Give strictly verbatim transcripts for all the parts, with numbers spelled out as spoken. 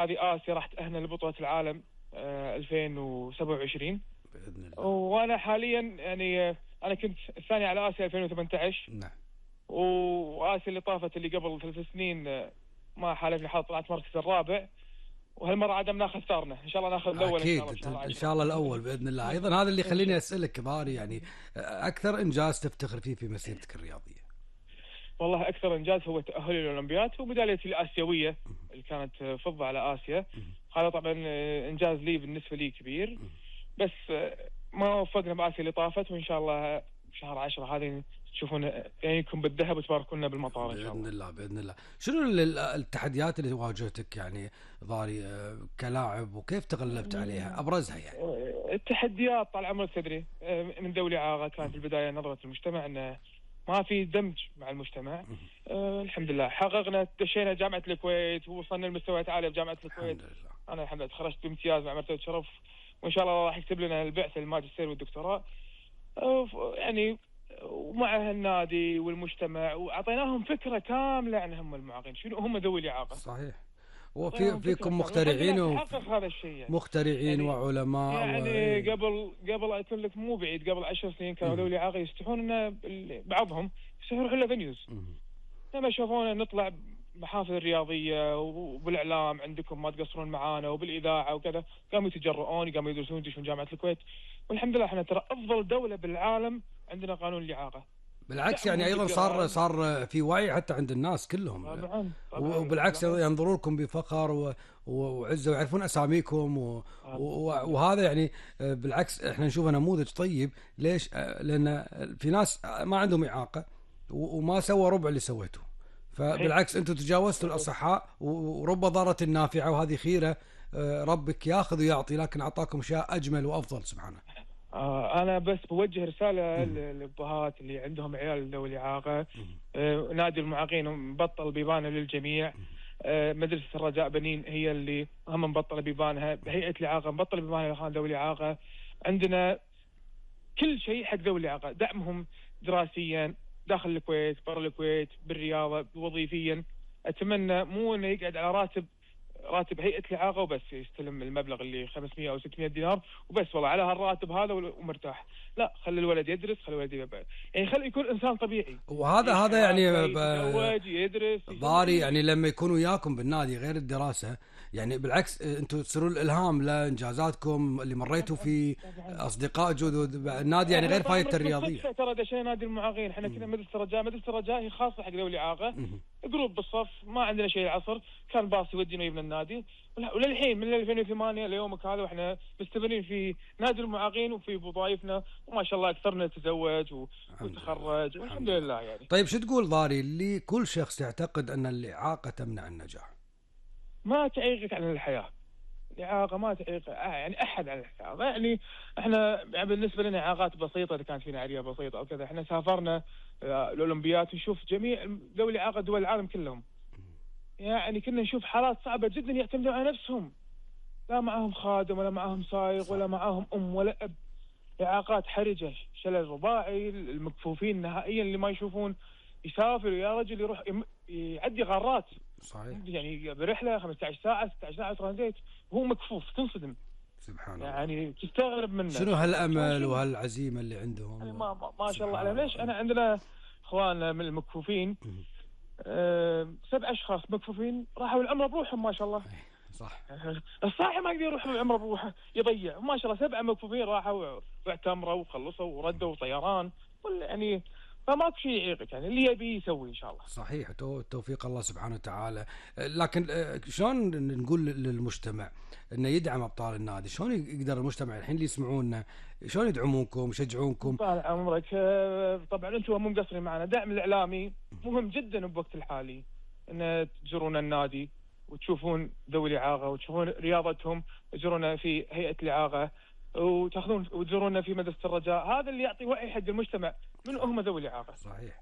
هذه آسيا راح تأهلنا لبطولة العالم آه ألفين وسبعة وعشرين بإذن الله. وأنا حاليا يعني آه أنا كنت الثاني على آسيا ألفين وثمانية عشر. نعم. وآسيا اللي طافت اللي قبل ثلاث سنين آه ما حالفني حظ، طلعت مركز الرابع، وهالمرة عدم ناخذ ثارنا، إن شاء الله ناخذ الأول. أكيد إن شاء الله, إن شاء الله الأول بإذن الله. أيضا هذا اللي يخليني أسألك ضاري، يعني أكثر إنجاز تفتخر فيه في مسيرتك الرياضية؟ والله أكثر إنجاز هو تأهلي للأولمبياد وميداليتي الآسيوية اللي كانت فضة على آسيا. هذا طبعا إنجاز لي بالنسبة لي كبير، بس ما وفقنا بآسيا اللي طافت، وإن شاء الله شهر عشرة هذه تشوفون يكون بالذهب وتباركونا بالمطار إن شاء الله. بإذن الله بإذن الله. شنو التحديات اللي واجهتك يعني ضاري كلاعب، وكيف تغلبت عليها؟ أبرزها يعني. التحديات طال عمرك تدري من ذوي إعاقة كانت في البداية نظرة المجتمع أنه ما في دمج مع المجتمع. أه الحمد لله حققنا، دشينا جامعة الكويت ووصلنا لمستويات عالية في جامعة الكويت. الحمد لله. أنا الحمد لله تخرجت بامتياز مع مرتبة شرف، وإن شاء الله راح يكتب لنا البعثة الماجستير والدكتوراه. أه يعني ومع النادي والمجتمع وأعطيناهم فكرة كاملة عن هم المعاقين، شنو هم ذوي الإعاقة. صحيح. وفي فيكم مخترعين وحقق هذا الشيء يعني. مخترعين يعني وعلماء يعني و... قبل قبل أقول لك مو بعيد، قبل عشر سنين كانوا ذوي الإعاقة يستحون إن بعضهم يستحون يروحون لفنيوز لما يشوفونا نطلع محافل الرياضية وبالإعلام عندكم ما تقصرون معانا وبالإذاعة وكذا، قاموا يتجرؤون، قاموا يدرسون يدشون جامعة الكويت. والحمد لله احنا ترى أفضل دولة بالعالم عندنا قانون الإعاقة. بالعكس يعني ايضا صار صار في وعي حتى عند الناس كلهم. طبعاً طبعاً وبالعكس ينظرون لكم بفخر وعزه ويعرفون اساميكم و... وهذا يعني بالعكس احنا نشوفه نموذج طيب. ليش؟ لان في ناس ما عندهم اعاقه وما سوى ربع اللي سويته، فبالعكس انتم تجاوزتوا الاصحاء، ورب ضارة نافعه، وهذه خيره ربك ياخذ ويعطي، لكن اعطاكم شيء اجمل وافضل سبحانه. آه أنا بس بوجه رسالة للأبهات اللي عندهم عيال ذوي الإعاقة. آه نادي المعاقين مبطل بيبانه للجميع. آه مدرسة الرجاء بنين هي اللي هم مبطلة بيبانها، هيئة الإعاقة مبطلة بيبانها لأخوان ذوي الإعاقة. عندنا كل شيء حق ذوي الإعاقة، دعمهم دراسيا داخل الكويت برا الكويت بالرياضة وظيفيا. أتمنى مو إنه يقعد على راتب راتب هيئة الإعاقة وبس يستلم المبلغ اللي خمسمية أو ستمية دينار وبس والله على هالراتب هذا ومرتاح. لا، خلي الولد يدرس، خلي الولد يبقى يعني خلي يكون إنسان طبيعي. وهذا هذا يعني يتزوج يدرس ضاري يعني لما يكونوا وياكم بالنادي غير الدراسة، يعني بالعكس انتم تصيرون الالهام لانجازاتكم اللي مريتوا في اصدقاء جدد النادي، يعني غير فايدة الرياضية. ترى دشينا نادي المعاقين احنا كنا مدرسة الرجاء، مدرسة الرجاء هي خاصة حق ذوي الإعاقة، جروب بالصف ما عندنا شيء العصر، كان باص يودينا من النادي. وللحين من ألفين وثمانية ليومك هذا واحنا مستمرين في نادي المعاقين وفي وظائفنا، وما شاء الله اكثرنا تزوج وتخرج والحمد لله يعني. طيب شو تقول ضاري لكل شخص يعتقد ان الإعاقة تمنع النجاح؟ ما تعيقك عن الحياة، الإعاقة ما تعيق يعني أحد عن الحياة. يعني إحنا يعني بالنسبة لنا إعاقات بسيطة، إذا كانت فينا عرية بسيطة أو كذا، إحنا سافرنا الأولمبياد ونشوف جميع ذوي الإعاقة دول العالم كلهم، يعني كنا نشوف حالات صعبة جدا يعتمدون على نفسهم، لا معهم خادم ولا معهم سائق ولا معهم أم ولا أب، إعاقات حرجة، شلل رباعي، المكفوفين نهائيا اللي ما يشوفون، يسافر يا رجل يروح يعدي غارات صحيح يعني برحلة خمسة عشر ساعة ستة عشر ساعة ترانزيت وهو مكفوف، تنصدم سبحان الله، يعني تستغرب منه. شنو هالأمل وهالعزيمة اللي عندهم يعني ما, ما, ما شاء الله عليهم. ليش أنا عندنا إخواننا من المكفوفين أه سبع أشخاص مكفوفين راحوا العمرة بروحهم ما شاء الله. صح. الصاحي ما يقدر يروح العمرة بروحه يضيع، ما شاء الله سبعة مكفوفين راحوا واعتمروا وخلصوا وردوا طيران، يعني فماكو شيء يعيقك، يعني اللي يبي يسوي إن شاء الله. صحيح، توفيق الله سبحانه وتعالى. لكن شلون نقول للمجتمع إنه يدعم أبطال النادي؟ شلون يقدر المجتمع الحين اللي يسمعونا شلون يدعمونكم يشجعونكم؟ طال عمرك طبعا أنتم مو مقصرين معنا، دعم الإعلامي مهم جدا بوقت الحالي، إن تزورون النادي وتشوفون ذوي الإعاقة وتشوفون رياضتهم، تزورونا في هيئة الإعاقة وتاخذون وتزورونا في مدرسة الرجاء، هذا اللي يعطي وعي حق المجتمع من هم ذوي الإعاقة. صحيح.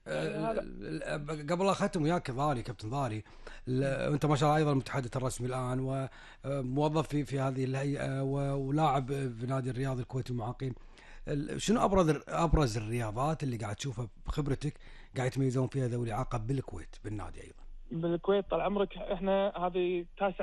يعني قبل أختم وياك ضاري كابتن ضاري، أنت ما شاء الله أيضا المتحدث الرسمي الآن وموظف في في هذه الهيئة ولاعب في نادي الرياضي الكويتي المعاقين، شنو أبرز أبرز الرياضات اللي قاعد تشوفها بخبرتك قاعد يتميزون فيها ذوي الإعاقة بالكويت بالنادي أيضا؟ بالكويت طال عمرك احنا هذه تاسع